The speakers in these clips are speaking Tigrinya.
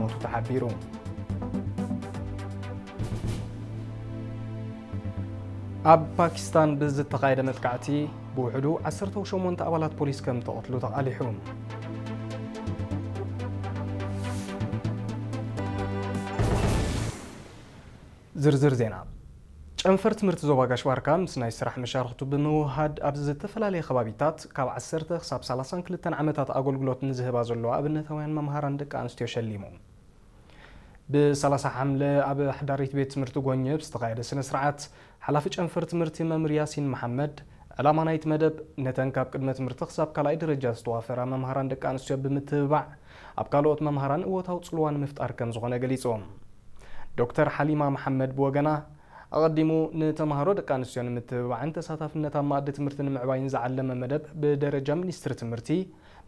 ሞቱ ተሓቢሩ። ኣብ ፓኪስታን ብዝተኻየደ መጥቃዕቲ ብውሕዱ ዓሰርተ ሸሞንተ ኣባላት ፖሊስ ከም ተቐትሉ ተቓሊሑ። ዝርዝር ዜና። ጨንፈር ትምህርቲ ዞባ ጋሽ ባርካ ምስ ናይ ስራሕ መሻርኽቱ ብምውሃድ ኣብ ዝተፈላለየ ከባቢታት ካብ ዓሰርተ ክሳብ ሰላሳን ክልተን ዓመታት ኣገልግሎት ንዝህባ ዘለዋ ኣብነታውያን መምሃራን ደቂ ኣንስትዮ ሸሊሙ። ብ30 ሓምለ ኣብ ሓዳሪት ቤት ትምህርቲ ጎኘብ ዝተኻየደ ስነ ስርዓት ሓላፊ ጨንፈር ትምህርቲ መምህር ያሲን መሓመድ፣ ዕላማ ናይቲ መደብ ነተን ካብ ቅድመ ትምህርቲ ክሳብ ካልኣይ ደረጃ ዝተዋፈራ መምሃራን ደቂ ኣንስትዮ ብምትብባዕ ኣብ ካልኦት መምሃራን እወታዊ ጽልዋ ንምፍጣር ከም ዝኾነ ገሊጹ። ዶክተር ሓሊማ መሓመድ ብወገና፣ ኣቐዲሙ ንተምሃሮ ደቂ ኣንስትዮ ንምትብባዕን ተሳታፍነት ኣብ መኣዲ ትምህርቲ ንምዕባይን ዝዓለመ መደብ ብደረጃ ሚኒስትሪ ትምህርቲ፣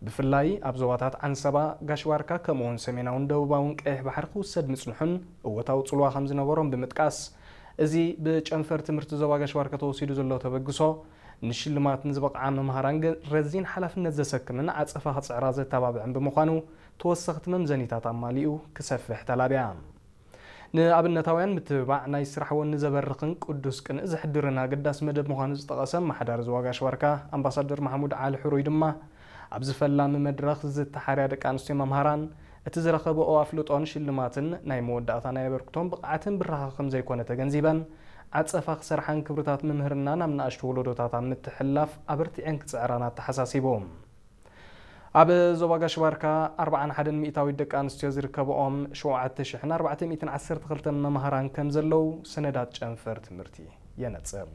ብፍላይ ኣብ ዞባታት ዓንሰባ፣ ጋሽ ባርካ፣ ከምኡውን ሰሜናውን ደቡባውን ቀይሕ ባሕሪ ክውሰድ ምጽንሑን እወታዊ ጽልዋ ከም ዝነበሮም ብምጥቃስ፣ እዚ ብጨንፈር ትምህርቲ ዞባ ጋሽ ባርካ ተወሲዱ ዘሎ ተበግሶ፣ ንሽልማት ንዝበቕዓ መምሃራን ገ-፣ ረዚን ሓላፍነት ዘሰክምን ዓጸፋ ክጽዕራ ዘተባብዕን ብምዃኑ፣ ተወሰኽቲ መምዘኒታት ኣማሊኡ ክሰፍሕ ተላብያ። ንኣብነታውያን ምትብባዕ ናይ ስራሕ ወኒ ዘበርኽን ቅዱስ ቅንኢ ዘሕድርን ኣገዳሲ መደብ ምዃኑ ዝጠቐሰ ኣመሓዳሪ ዞባ ጋሽ ባርካ ኣምባሳደር ማሕሙድ ዓሊ ሕሩይ ድማ፣ ኣብዚ ፈላሚ መድረኽ ዝተሓርያ ደቂ ኣንስትዮ መምሃራን፣ እቲ ዝረኸበኦ ኣፍልጦን ሽልማትን ናይ መወዳእታ ናይ ኣበርክቶን ብቕዓትን ብራኸ ከም ዘይኮነ ተገንዚበን፣ ዓጸፋ ክሰርሓን ክብርታት ምምህርና ናብ ንኣሽቱ ወለዶታት ኣብ ምትሕልላፍ ኣበርቲዐን ክጽዕራን ኣተሓሳሲቡ። ኣብ ዞባ ጋሽ ባርካ ኣርብዓን ሓደን ሚእታዊት ደቂ ኣንስትዮ ዝርከብኦም ሸውዓተ ሽሕን ኣርባዕተ ሚእትን ዓሰርተ ክልተን መምሃራን ከም ዘለዉ ሰነዳት ጨንፈር ትምህርቲ የነጽር።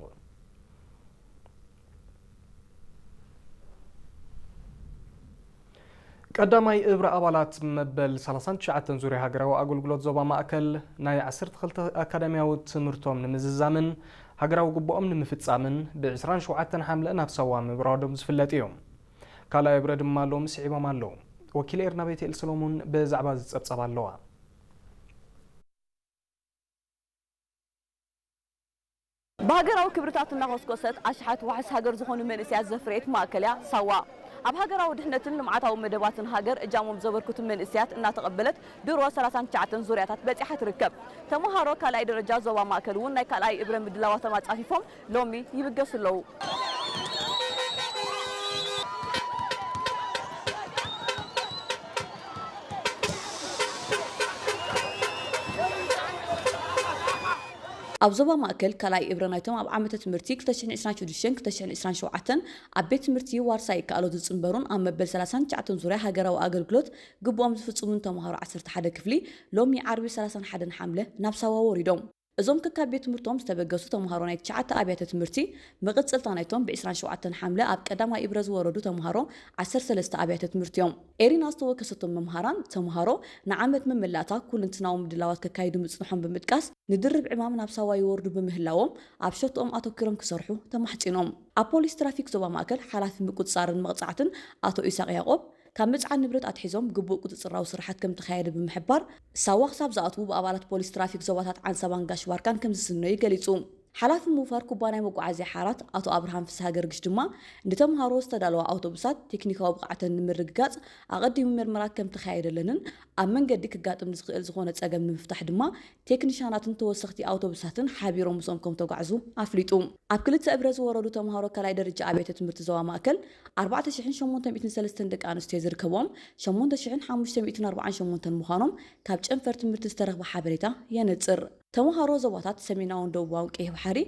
ቀዳማይ እብረ ኣባላት መበል ሰላሳን ትሽዓተን ዙርያ ሃገራዊ ኣገልግሎት ዞባ ማእከል ናይ ዓሰርተ ክልተ ኣካዳሚያዊ ትምህርቶም ንምዝዛምን ሃገራዊ ግቡኦም ንምፍጻምን ብ ዕስራን ሸውዓተን ሓምለ ናብ ሳዋ ምብራዶም ዝፍለጥ እዩ። ካልኣይ እብረ ድማ ሎሚ ስዒቦም ኣለዉ። ወኪል ኤርና ቤትኤል ሰሎሞን ብዛዕባ እዚ ጸብጻብ ኣለዋ። ብሃገራዊ ክብርታት እናኾስኮሰት ኣሽሓት ዋሕስ ሃገር ዝኾኑ መንእሰያት ዘፍረየት ማእከል እያ ሳዋ። ኣብ ሃገራዊ ድሕነትን ልምዓታዊ መደባትን ሃገር እጃሞም ዘበርክቱ መንእሰያት እናተቐበለት ድሮ ሰላሳን ትሽዓተን ዙርያታት በጺሓ ትርከብ። ተምሃሮ ካልኣይ ደረጃ ዞባ ማእከል እውን ናይ ካልኣይ እብረ ምድላዋቶም ኣጻፊፎም ሎሚ ይብገሱ ኣለዉ። ኣብ ዞባ ማእከል ካልኣይ እብረ ናይቶም ኣብ ዓመተ ትምህርቲ ክልተ ሽሕን ዕስራን ሽዱሽተን ክልተ ሽሕን ዕስራን ሸውዓተን ኣብ ቤት ትምህርቲ ዋርሳይ ይከኣሎ ዝጽንበሩን ኣብ መበል ሰላሳን ትሽዓተን ዙርያ ሃገራዊ ኣገልግሎት ግቡኦም ዝፍጽሙን ተምሃሮ ዓሰርተ ሓደ ክፍሊ ሎሚ ዓርቢ ሰላሳን ሓደን ሓምለ ናብ ሳዋ ወሪዶም። እዞም ከካብ ቤት ትምህርቶም ዝተበገሱ ተምሃሮ ናይ ትሽዓተ ኣብያተ ትምህርቲ መቐጸልታ ናይቶም ብ ዕስራን ሸውዓተን ሓምለ ኣብ ቀዳማይ እብረ ዝወረዱ ተምሃሮ ዓሰርተ ሰለስተ ኣብያተ ትምህርቲ እዮም። ኤሪና ዝተወከሰቶም መምሃራን ተምሃሮ ንዓመት መመላእታ ኩልንትናዊ ምድላዋት ከካይዱ ምጽንሖም ብምጥቃስ፣ ንድርብ ዕማም ናብ ሳዋ ይወርዱ ብምህላዎም ኣብ ሸቶኦም ኣተኲሮም ክሰርሑ ተማሕጺኖም። ኣብ ፖሊስ ትራፊክ ዞባ ማእከል ሓላፊ ምቁጽጻርን መቕጻዕትን ኣቶ ኢሳቕ ያዕቆብ፣ ካብ ምጽዓን ንብረት ኣትሒዞም ግቡእ ቁጽጽራዊ ስራሓት ከም ተኻየደ ብምሕባር፣ ሳዋ ክሳብ ዝኣትዉ ብኣባላት ፖሊስ ትራፊክ ዞባታት ዓንሰባን ጋሽ ባርካን ከም ዝስነዩ ገሊጹ። ሓላፊ ምውፋር ኩባንያ መጓዓዝያ ሓራት ኣቶ ኣብርሃም ፍስሃ ገርግሽ ድማ፣ ንተምሃሮ ዝተዳለዋ ኣውቶቡሳት ቴክኒካዊ ብቕዓተን ንምርግጋጽ ኣቐዲሙ ምርመራ ከም ተኻየደለንን ኣብ መንገዲ ክጋጥም ንዝኽእል ዝኾነ ጸገም ንምፍታሕ ድማ ቴክኒሻናትን ተወሰኽቲ ኣውቶቡሳትን ሓቢሮም ምስኦም ከም ተጓዕዙ ኣፍሊጡ። ኣብ ክልተ እብረ ዝወረዱ ተምሃሮ ካልኣይ ደረጃ ኣብያተ ትምህርቲ ዞባ ማእከል ኣርባዕተ ሽሕን ሸሞንተ ሚእትን ሰለስተን ደቂ ኣንስትዮ ዝርከብዎም ሸሞንተ ሽሕን ሓሙሽተ ሚእትን ኣርባዓን ሸሞንተን ምዃኖም ካብ ጨንፈር ትምህርቲ ዝተረኽበ ሓበሬታ የነጽር። ተምሃሮ ዞባታት ሰሜናውን ደቡባውን ቀይሕ ባሕሪ፣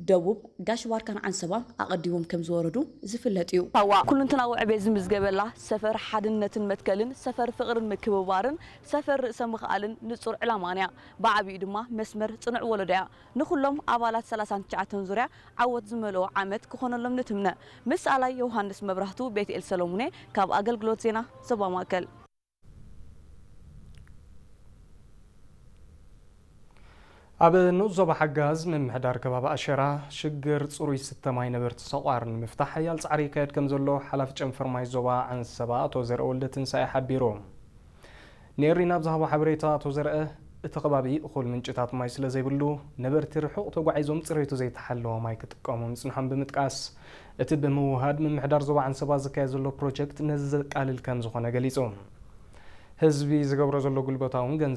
ደቡብ፣ ጋሽ ባርካን ዓንሰባን ኣቐዲሞም ከም ዝወረዱ ዝፍለጥ እዩ። ሳዋ ኩልንትናዊ ዕቤት ዝምዝገበላ ሰፈር ሓድነትን መትከልን፣ ሰፈር ፍቕርን ምክብባርን፣ ሰፈር ርእሰ ምኽኣልን ንጹር ዕላማን እያ። ብዓቢኡ ድማ መስመር ጽኑዕ ወለዶ እያ። ንኹሎም ኣባላት ሰላሳን ትሽዓተን ዙርያ ዓወት ዝመልኦ ዓመት ክኾነሎም ንትምነ። ምስ ኣላይ ዮሃንስ መብራህቱ፣ ቤትኤል ሰሎሙኔ ካብ ኣገልግሎት ዜና ዞባ ማእከል። ኣብ ንኡስ ዞባ ሓጋዝ ምምሕዳር ከባቢ ኣሸራ ሽግር ጽሩይ ስተ ማይ ነበርቲ ሰቋር ንምፍታሕ ሓያል ጻዕሪ ይካየድ ከም ዘሎ ሓላፊ ጨንፈር ማይ ዞባ ዓንሰባ ኣቶ ዘርአ ወልደ ትንሳኤ ሓቢሩ። ንኤሪና ኣብ ዝሃቦ ሓበሬታ ኣቶ ዘርአ፣ እቲ ከባቢ እኹል ምንጭታት ማይ ስለ ዘይብሉ፣ ነበርቲ ርሑቕ ተጓዒዞም ጽሬቱ ዘይተሓለወ ማይ ክጥቀሙ ምጽንሖም ብምጥቃስ፣ እቲ ብምውሃድ ምምሕዳር ዞባ ዓንሰባ ዝካየድ ዘሎ ፕሮጀክት ነዚ ዘቃልል ከም ዝኾነ ገሊጹ። ህዝቢ ዝገብሮ ዘሎ ጉልበታውን ገንዘብ